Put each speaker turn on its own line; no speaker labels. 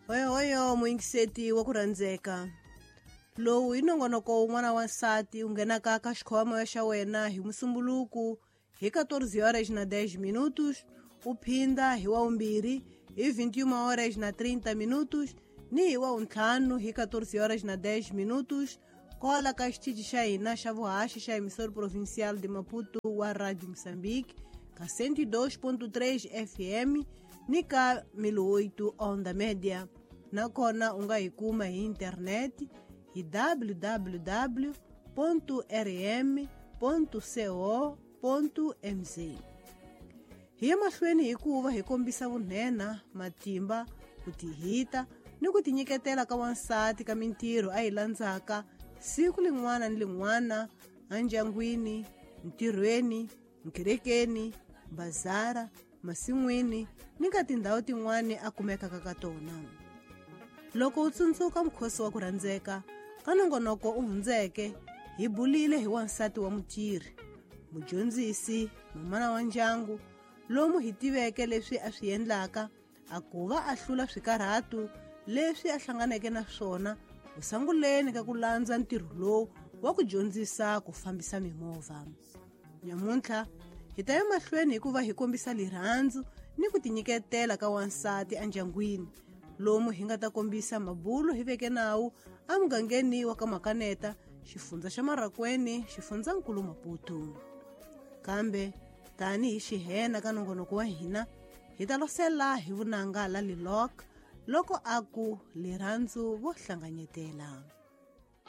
Hoyohoyo muyingiseti wa ku rhandzeka, lowu hi nongonoko wun'wana wa nsati wu nghenaka ka xikhoma xa wena hi Musumbuluku hi 14 horas na 10 minutos, u phinda hi wa vumbirhi hi 21 horas na 30 minutos ni hi wa vuntlhanu hi 14 horas na 10 minutos, kwala ka xitichi xa hina xa vuhaxi xa Emissora Provincial de Maputo wa Radio Moçambique ka 102.3 FM ni ka 1008 onda média. Nakona u nga hi kuma hi internet hi www.rm.co.mz. Hi ya mahlweni hikuva hi kombisa vunhena, matimba, ku tihita ni ku tinyiketela ka wansati ka mintirho a yi landzaka siku lin'wana ni lin'wana endyangwini, ntirhweni, nkerekeni, bazara, masin'wini ni ka tindhawu tin'wana a kumekaka ka tona. Loko u tsundzuka mukhosi wa ku rhandzeka ka nongonoko u hundzeke, hi bulile hi wansati wa mutirhi, mudyondzisi, mamana wa ndyangu, lomu hi tiveke leswi a swi endlaka a ku va a hlula swikarhatu leswi a hlanganeke na swona kusanguleni ka ku landza ntirho lowu wa ku dyondzisa ku fambisa mimovha. Nyamuntlha hi ta ya mahlweni hikuva hi kombisa lirhandzu ni ku tinyiketela ka wansati endyangwini, lomu hi nga ta kombisa mabulo hi veke nawu emugangeni wa ka Makaneta, xifundza xa Marracuene, xifundzankulu Maputo. Kambe tanihi xihena ka nongonoko wa hina, hi ta losela hi vunanga la Lilok loko a ku lirhandzu vo hlanganyetela.